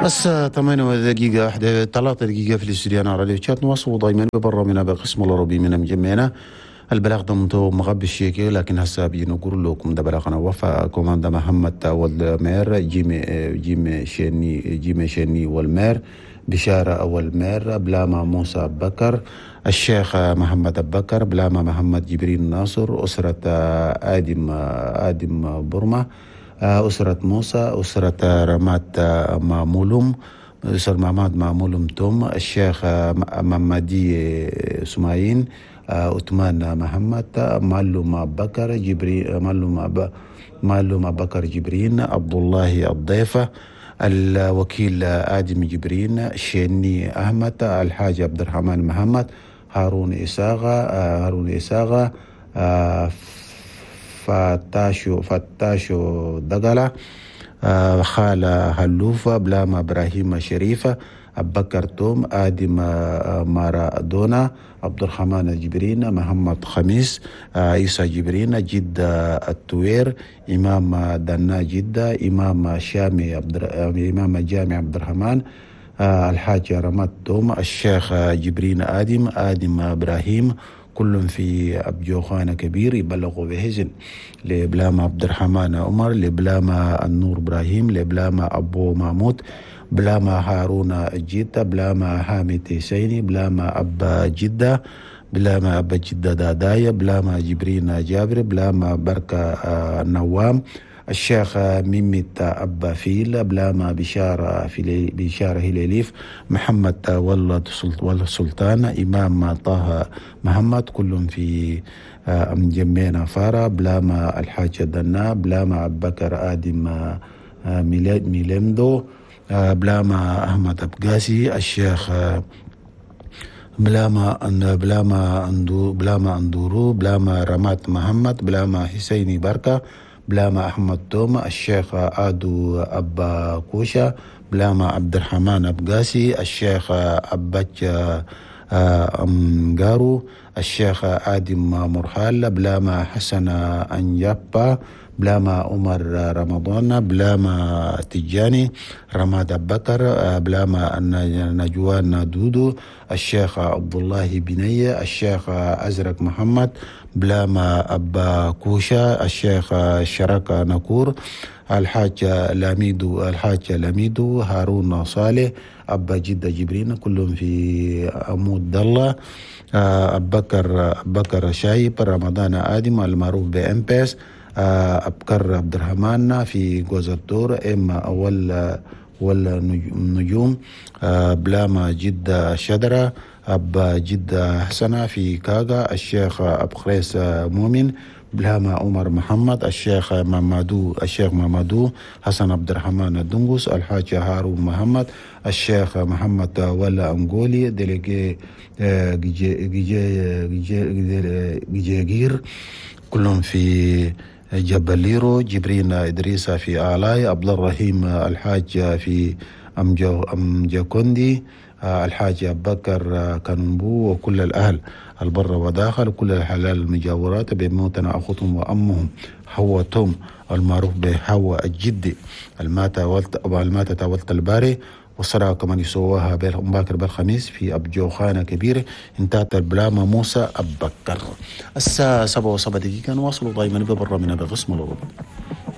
الساعة 8 دقيقة 1 3 دقيقة في الاستوديو أنا راديو تشات. نواصل دائما ببرنامجنا بقسم العربي من مجمعنا. البلاغ ده مغبي الشيكي، لكن هسه بنقول لكم ده بلاغنا وفاء كوماندا محمد والمير جيمي شيني والمير بشارة والمير بلاما موسى بكر الشيخ محمد بكر بلاما محمد جبريل ناصر أسرة آدم برمة أسرة موسى أسرة رمات مامولوم أسرة محمد مامولوم توم الشيخ ممدي سمايين عثمان محمد معلوم بكر جبريل معلوم بكر جبرين عبد الله الضيفة الوكيل آدم جبرين شيني أحمد الحاج عبد الرحمن محمد هارون إساغة فتاشو دقلة خالة هلوفة بلاما إبراهيم شريفة أبكر توم آدم مارادونا عبد الرحمن جبرين محمد خميس عيسى جبرين جدة التوير إمام دنا جدة إمام شامي إمام جامع عبد الرحمن الحاج رماد توم الشيخ جبرين آدم إبراهيم كل في أبجوخانة كبير يبلغوا بهزن لبلاما عبد الرحمن عمر لبلاما النور إبراهيم لبلاما أبو محمود بلاما هارون جدة بلاما حامد سيني بلاما أبا جدة بلاما أبا جدة دادايا بلاما جبرين جابر بلاما بركة نوام الشيخ ميمت أبا فيل بلاما بشارة هلاليف محمد ولد سلطان إمام طه محمد كلهم في أمجمينا فارا بلاما الحاج دنا بلاما أبكر آدم ميلمدو بلاما أحمد أبقاسي الشيخ بلاما أندورو بلاما رمات محمد بلاما حسيني بركة بلاما أحمد توما الشيخ آدو أبا كوشا بلاما عبد الرحمن أبقاسي الشيخ أباتش أمغارو الشيخ آدم مرحال بلاما حسن أنجابا بلاما عمر رمضان بلاما تجاني رماد بكر بلاما نجوان دودو الشيخ عبد الله بنية الشيخ أزرق محمد بلاما أبا كوشا الشيخ شركة نكور الحاج لاميدو هارون صالح أبا جدة جبرين كلهم في أمود الله أبكر شايب رمضان آدم المعروف بأمبس أبكر عبد الرحمن في جوزالدور إما أول والنجوم بلاما جدة شدرة أبا جدة حسنة في كاغا الشيخ أبخريس مؤمن بلاما عمر محمد الشيخ مامادو حسن عبد الرحمن الدنقس الحاج هارون محمد الشيخ محمد ولا أنغولي ديليجي جيجير كلهم في جبليرو جبرين إدريسة في آلاي عبد الرحيم الحاج في أمجاكوندي الحاج أبكر كنبو وكل الأهل البر وداخل كل الحلال المجاورات بموتنا أخوتهم وأمهم حواء توم المعروف بحواء الجدي الماتة تولت الباري والصلاة كمان يسواها باكر بالخميس في أبجوخانة كبيرة. انتهت البلامة موسى أبكر. الساعة 7:07 نواصل دائما ببرنامجنا بقسم الأوروبي.